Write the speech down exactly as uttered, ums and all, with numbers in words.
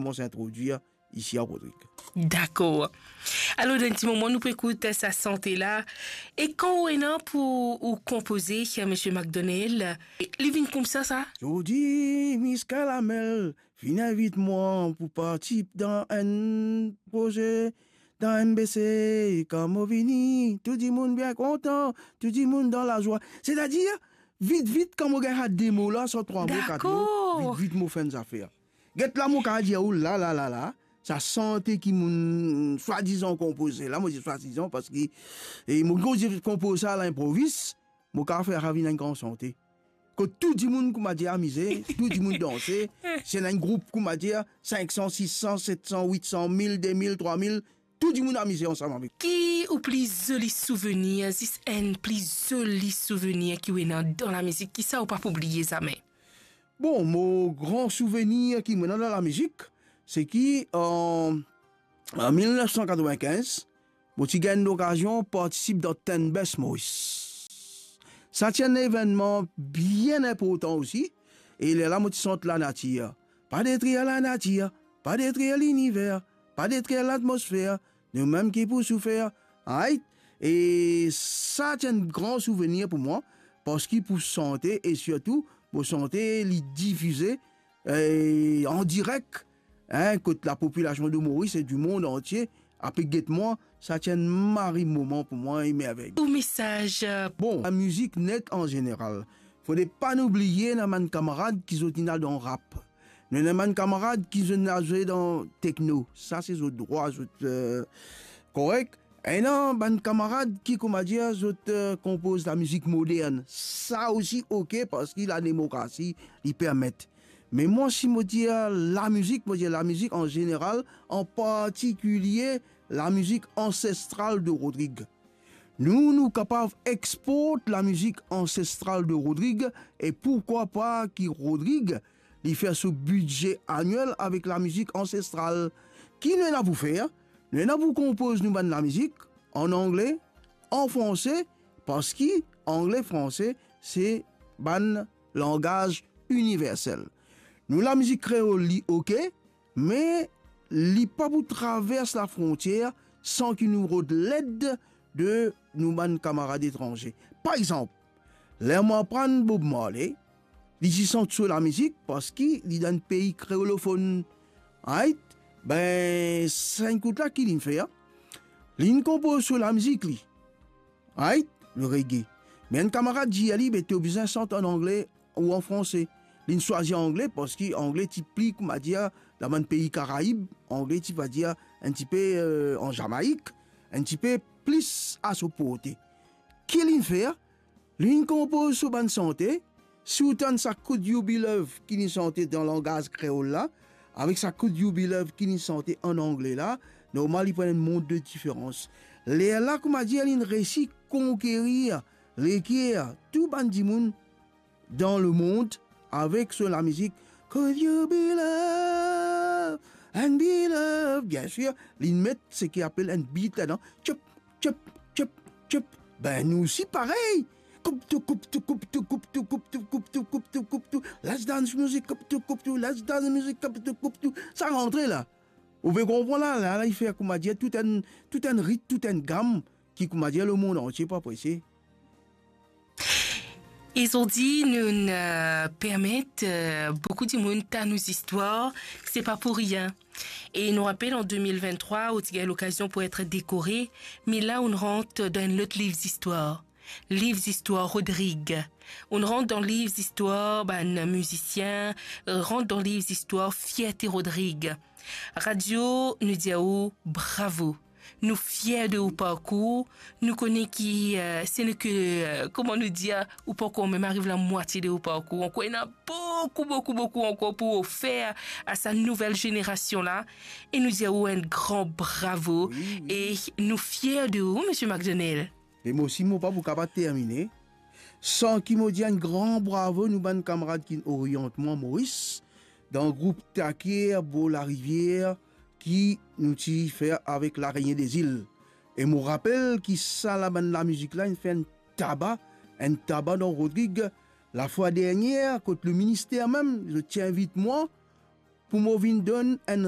Koumans introdwir isi a Rodrig. Dakor. Alor, dan enn ti moman, nou pou ekout sa sante la. E kan ou ena pou ou konpoze, Misie McDonnell, li vinn koumsa, sa? Zordi, Miss Caramel finn invit mwa pou partisip dan enn proze, dan M B C, kan mo vini, tou dimoun bien kontan, tou dimoun dan lazwa. Setadir, vit, vit, kan mo gagn sa de mo la, sa trwa mo, kat mo, dakor, vit, vit, mo fer enn zafer. Get la, mo kapav dir ou, la, la, la, la, sa sante ki mo'nn swadizan konpoze la, mo dir swadizan parski, e, mo konpoze sa a linprovis, mo kapav fer sa vinn enn gran sante. Kot tou dimoun, kouma dir, amize, tou dimoun danse, si ena enn group, kouma dir, sink san, sis san, set san, wit san, mil, de mil, trwa mil, tou dimoun amize ansam avek. Ki ou pli zoli souvenir, zis enn pli zoli souvenir ki ou ena dan lamizik, ki sa ou pa pou bliye zame? Bon, mo gran souvenir ki mo ena dan lamizik, se ki, an, an mil nef san katrevinkinz, mo ti gagn lokazion partisip dan Ten Best Maurice. Sa ti enn evennman bien inportan osi, e lerla mo ti sant lanatir. Pa detrir lanatir, pa detrir liniver, pa detrir latmosfer, noumem ki pou soufer, right? E sa ti enn gran souvenir pou mwa, parski pou sante, e sirtou, mo sante li difize, e, an direk, hein, kot lapopilasion de Moris e dimond antie ape get mwa, sa ti enn mari moman pou mwa, enn mervey. Ou mesaz, euh, Bon, lamizik net an zeneral, fode pa nou bliye ena bann kamarad ki zot inn al dan rap. Nou ena bann kamarad ki zot inn al zwe dan tekno. Sa se zot drwa, zot, euh, korek. Ena bann kamarad ki, kouma dir, zot, euh, konpoz lamizik modern. Sa osi oke, parski lademokrasi li permet. Me mwa, si mo dir lamizik, mo dir lamizik an zeneral, an partikilie lamizik ansestral de Rodrig. Nou, nou kapav export lamizik ansestral de Rodrig, e pourkwa pa ki Rodrig, li fer so bidze aniel avek lamizik ansestral. Ki nou ena pou fer? Nou ena pou konpoz nou bann lamizik an angle, an franse, parski angle, franse, se bann langaz iniversel. Nou lamizik kreol, li oke, me li pa pou travers lafrontier san ki nou rod led de nou bann kamarad etranze. Par exanp, ler mo aprann Bob Marley, li ti sant so lamizik parski li dan enn pei kreolofonn. Right? Be, sa enn kout la ki linn fer, linn konpoz so lamizik li. Right? Le reggae. Me enn kamarad dir li, be, to bizin sant an angle ou an franse. Linn swazir angle parski angle ti pli, kouma dir, dan bann pei Karaib, angle ti, va dir, enn tipe, euh, an Zamaik, enn tipe plis a so porte. Ki linn fer? Linn konpoz so bann sante. Si ou tann sa Could You Be Love ki linn sante dan langaz kreol la, avek sa Could You Be Love ki linn sante an angle la, normal li pou ena enn mond de diferans. Lerla, kouma dir, linn resi konkerir leker tou bann dimoun dan lemond avek so lamizik Could You Be Love and Be Loved. Biensir, linn met seki apel enn beat ladan. Tchop, tchop, tchop, tchop. Be, nou osi parey. Koup tou, koup tou, koup tou, koup tou, koup tou, koup tou, koup tou, koup tou. Let's dance music, koup tou, koup tou, let's dance music, koup tou, koup tou. Sa rantre la. Ou pe konpran la, la, la, li fer, kouma dir, tou enn, tou enn rit, tou enn gam ki, kouma dir, lemond antie pou apresie. E zordi, nou'nn, euh, permet, euh, boukou dimoun tann ou zistwar, se pa pou rien. E nou rapel, an de mil venntrwa, ou ti gagn lokazion pou et dekore, me la, ou'nn rant dan enn lot liv zistwar. Liv zistwar Rodrig. Ou'nn rant dan liv zistwar bann mizisien, rant dan liv zistwar fierte Rodrig. Radio, nou dir ou bravo. Nou fier de ou parkour. Nou kone ki, euh, se nou ke, euh, kouma nou dir, ou pankor mem ariv lamwatie de ou parkour. Ankor ena boukou, boukou, boukou ankor pou ofer a sa nouvel zenerasion la. E nou dir ou enn gran bravo. Wi, wi. E nou fier de ou, Misie McDonnell. E mo osi, mo pa pou kapav termine san ki mo dir enn gran bravo nou bann kamarad ki'nn oriant mwa Moris, dan group Takier Bor Larivier ki nou ti fer avek Larenien Dezil. E mo rapel ki sa la bann lamizik la inn fer enn taba, enn taba dan Rodrig. Lafwa dernier, kot le minister mem, zot ti invit mwa pou mo vinn donn enn